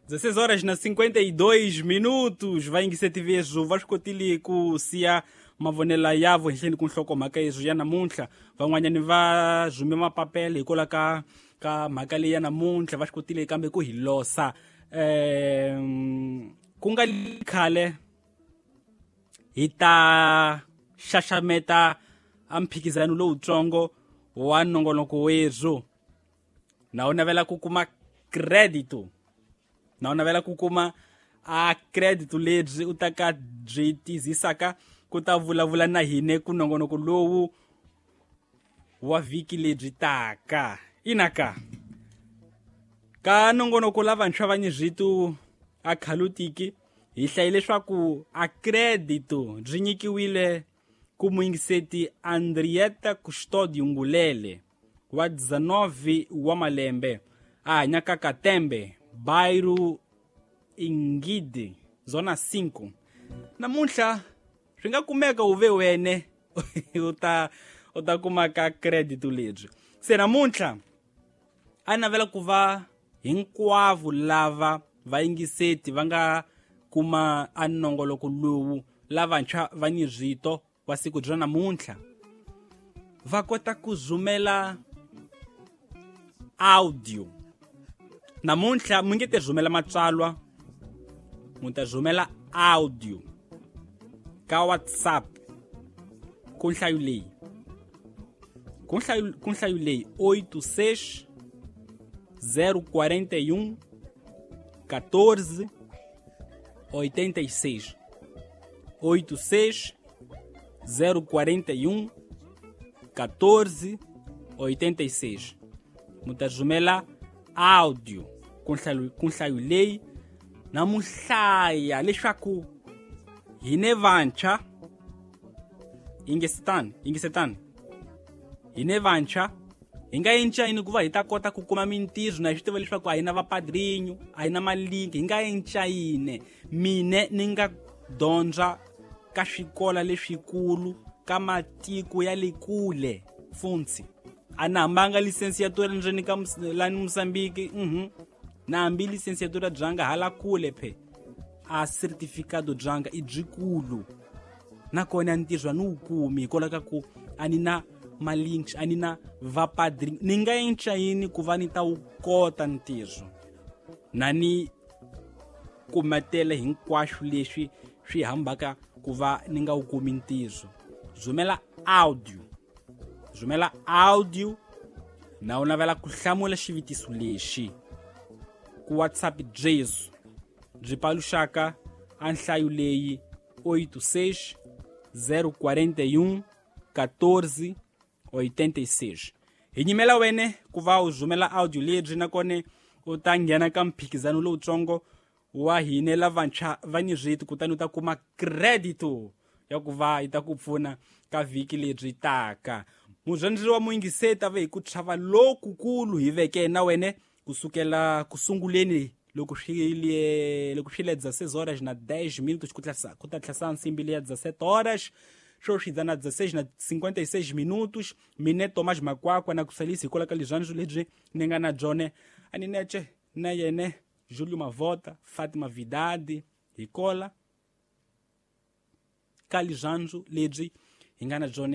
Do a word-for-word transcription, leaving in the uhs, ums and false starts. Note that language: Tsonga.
dezesseis horas na cinquenta e dois minutos vayingiseti veswo va swi kotile ku siya mavonelo yavo henhleni ku nhlokomhaka yeswo ya namuntlha. Van'wanyani va rhume mapapela hikwalaho ka ka mhaka leyi ya namuntlha, va swi kotile kambe ku hi losa. um ku nga khale hi ta xaxameta a mphikizano lowutsongo wa nongonoko wethu. Na u navela ku kuma credit, na u navela ku kuma a credit lebyi u ta ka byi tizisaka ku ta vulavula na hine ku nongonoko lowu wa vhiki lebyi taka. Inaka ka nongonoko lavantshwa va nyizvitu a khalutiki hi hlayile leswaku a credit byi nyikiwile ku muyingiseti Andrieta Custodio Ngulele wa dezenove wa malembe, a hanyaka Katembe, bairro Ingidi, zona cinco. Namuntlha swi nga kumeka u ve wene u ta u ta kuma ka credit lebyi. Se namuntlha a navela ku va hinkwavo lava vayingiseti va nga kuma a nongoloko lowu lavantshwa va nyizvito wa siku bya namuntlha va kota ku rhumela audio. Namuntlha mi nge te rhumela matsalwa, mu ta rhumela audio ka WhatsApp ku nhlayo leyi, ku nhlayo, ku nhlayo leyi oito seis zero quarenta e um quatorze oitenta e seis, oito seis zero quarenta e um quatorze oitenta e seis. Mu ta rhumela audio ku nhlayo, ku nhlayo leyi na mu hlaya leswaku hine vantshwa yingisetani, yingisetani hine vantshwa hi nga encayini ku va hi ta kota ku kuma mintirho, na hi swi tiva leswaku a hi na vapadrinho, a hi na malinki, hi nga encayini. Mine ni nga dyondza ka swikola leswikulu ka matiko ya le kule funtsi a na hambanga licenciatura ndzeni ka lani Mozambique, mhm na hambi licenciatura byanga hala kule phe a certificado byanga i byikulu, nakona ntirho a ni wu kumi hikwalaho ka ku a ni na malinks, a ni na vapadrinho. Ni nga encayini ku va ni ta wu kota ntirho na ni kumetele hinkwaswo leswi swi hambaka ku va ni nga wu kumi ntirho. Rhumela audio, rhumela audio na u navela ku hlamula xivutiso lexi ku WhatsApp Jesu byi paluxaka a nhlayo leyi oito seis zero quarenta e um quatorze oitenta e seis. Hi nyimela wene ku va u rhumela audio lebyi, nakona u ta nghena ka mphikizano lowutsongo wa hine lavantshwa va nyizviti, kutani u ta kuma credit ya ku va yi ta ku pfuna ka vhiki lebyi taka. Mudyondzisi wa muyingiseti a ve hi ku chava lokukulu hi veke na wene kusukela kusunguleni loko swi le loko swi le dezesseis horas na dez minutos ku tlhasa ku ta tlhasa nsimbi leya dezessete horas swo swi na dezesseis na cinquenta e seis minutos. Mine Thomas Makwakwa na ku salisa hikwalaho ka leswandzo lebyi ni nga na byone a ni nece na yene Júlio Mavota, Fatima Vidadi, hikola ka leswandzo lebyi hi nga na byone.